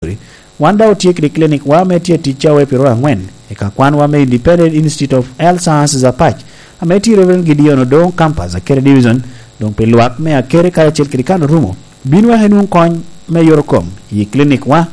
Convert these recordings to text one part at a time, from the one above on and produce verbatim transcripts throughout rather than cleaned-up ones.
Laboratory. Wan daŋ otye kede clinic wa ame tye atic cawa piro angwen i ka kwanwa me Independent Institute of Health Sciences Apac, ame tye i Reverend Gideon Odongo Campus, Akere Division, doŋ pi lwak me Akere karacel kede kan orumo. Bin wek inwoŋ kony me yot kom i clinic wa,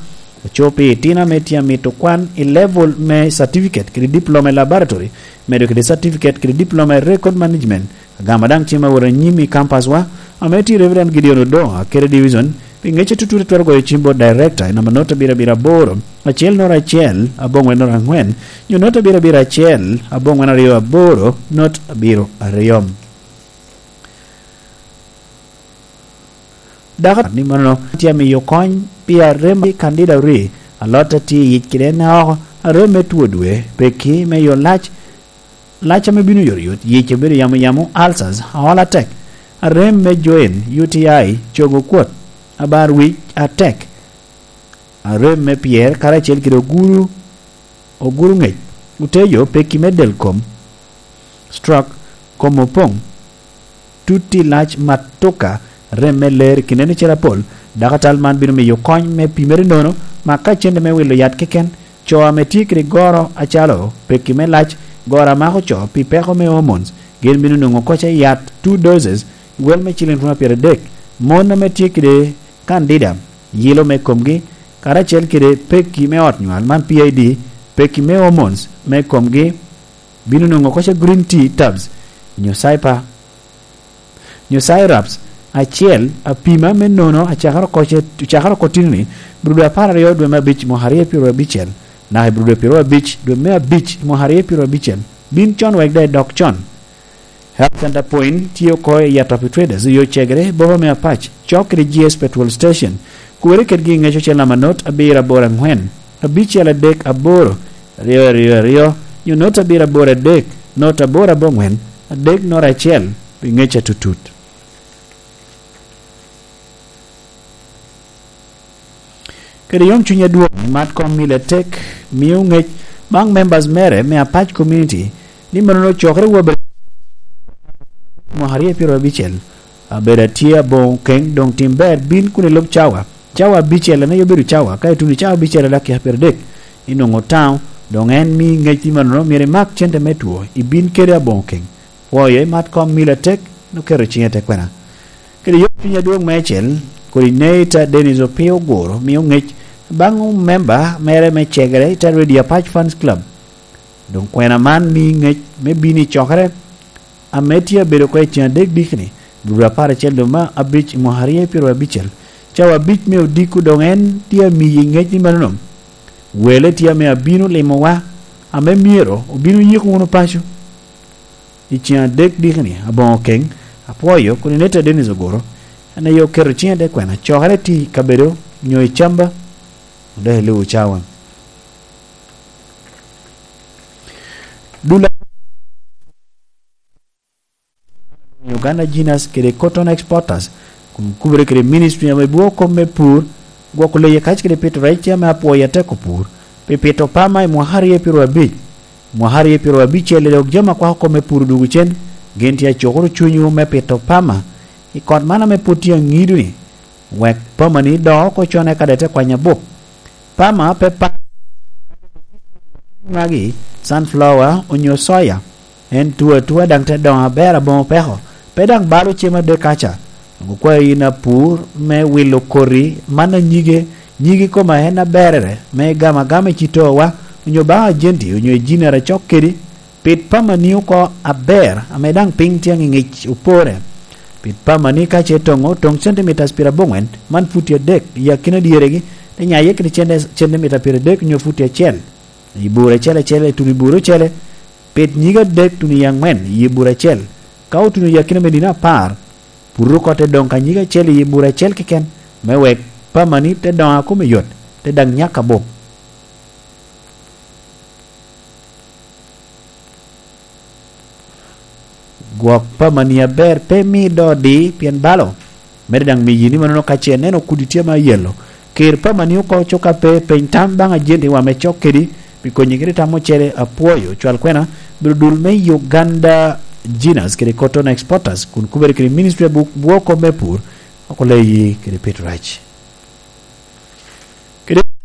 oco pi itino ame tye amito kwan i level me certificate kede diploma i laboratory, medo kede certificate kede diploma i record management. Agamo daŋ cim awot anyim i campus wa, ame tye Reverend Gideon Odongo, Akere Division, pi ŋec atutut itwero goyo cim bot director i namba not abiro abiro aboro, acel not acel, abongwen not angwen, nyo not abiro abiro acel, abongwen aryo aboro, not abiro aryo. Dako ni mano tye amiyo kony pi arem i Candida Uri, alot a tye i yic kede en oko, arem me two dwe, peki me yo lac, lac ame bino yotyot, yic obedo yamo yamo, ulcers, aol atek, arem me join, U T I, cogo kwot, abar wic atek, arem me pyer, karacel kede oguru, oguru ŋec, otejo, peki me del kom, stroke, kom opoŋ, tutti lac matuka, rem me ler i kine ni cel apol. Dakatal man bino miyo kony me pimere nono, ma ka cente me wilo yat keken, co ame tye kede goro acalo peki me lac, goro a mako co pi peko me hormones, gin bino nwoŋo koca yat two doses, wel me ciliŋ ruma pyeradek. Mon ame tye kede candida, yilo me komgi, karacel kede peki me ot nywal man P I D, peki me hormones me komgi, bino nwoŋo koca green tea tabs, nyo cyper, nyo syrups acel, apima me nono acakere oko ce-, acakere oko tino ni, brudo apar aryo dwe me abic mwaka aryo pyero abicel, naka i brudo pyero abic dwe me abic mwaka aryo pyero abicel, bin con wek daŋ idok con. Health Center Point tye oko i Atop Traders, yo cegere, boma me Apac, cok kede G S Petrol Station. Kuwere kedgi i ŋec ocel namba not abiro aboro angwen, abicel adek aboro, aryo aryo aryo, nyo not abiro aboro adek, not aboro abongwen, adek not acel, pi ŋec atutut. Kede yom cuny adwoŋ, Matcom Miller Tech mio ŋec baŋ members mere me Apac Community ni mano cokere wa bed mwaka aryo pyero abicel, abedo atye aboŋo keŋ, doŋ tim ber, bin kun ilub cawa. Cawa abicel en aye obedo cawa, ka ituno i cawa abicel i dakika pyeradek, inwoŋo taŋo, doŋ en mi ŋec ni mano myero imak cente me two, ibin kede aboŋo keŋ. Pwoyo i Matcom Miller Tech, oketo ciŋe i te kwena. Kede yom cuny adwoŋ meicel, coordinator Dennis Opio Oguro mio ŋec baŋ memba mere me cegere i te Radio Apac Fans Club. Doŋ kwena man mi ŋec me bino i cokere ame tye abedo oko i ceng adek dikni, brudo apar acel dwe me abic i mwaka aryo pyero abicel. Cawa abic me odiko doŋ en tye amiyi ŋec ni manono. Wele tye ame abino limowa, ame myero obino yiko wunu paco. I ceng adek dikni, aboŋo keŋ, apwoyo Coordinator Dennis Oguro, en aye oketo ciŋe te kwena cokere tye i kabedo nyo i camba, dok iluwo cawa. Dul Uganda Genus kede Cotton Exporters, kun kubere kede Ministry ame bwoko kop me pur, gwoko leye kac kede pito rec tye ame apwoyo ateko pur, pi pito pama i mwaka aryo pyero abic. Mwaka aryo pyero abicel dok jami akwako kop me pur dwogo cen, gin tye acukoro cunywu me pito pama i kot man ame pwod tye aŋido-ni, wek pamani doo oko con eka daŋ ite kwanyo abup. Pama pe pa-, magi, sunflower onyo soya, en tuo atua daŋ te doŋo aber aboŋo peko, pe daŋ balo cem adek kaca. Doŋ okwayo yin apur me wilo koti man anyige, nyigi koma en aberere, me gamo agama i citowa, onyo baŋ ajenti, onyo i jinere acok kedi, pit pamani oko aber, ame daŋ piny tye aŋiŋic opore. Pit pamani ka ce toŋo, toŋ centimeters pyeraboŋwen, man futi adek, i akina dyeregi, te nyaye kede centi-, centimeter pyeradek onyo futi acel. I bur acel acel, ituno i bur ocele, pit nyige adek tuno i aŋwen i bur acel. Ka otuno i akina me nino apar, pur oko te doŋ ka nyige acel i bur acel keken, me wek pamani te doŋo a kome yot, te daŋ nyak abup. Gwok pamani aber pe mi do di pien balo. Mede daŋ miyi ni manono ka ce ineno kudi tye ma yelo. Ker pamani oko coka pe peny tam baŋ ajenti wa me cok kedi, pi konyi kede tam ocele apwoyo. Cwal kwena, bedo dul me Uganda Genus kede Cotton Exporters, kun kubere kede Ministry of Bwo-, Bwoko me Pur, oko leyi kede pito rec.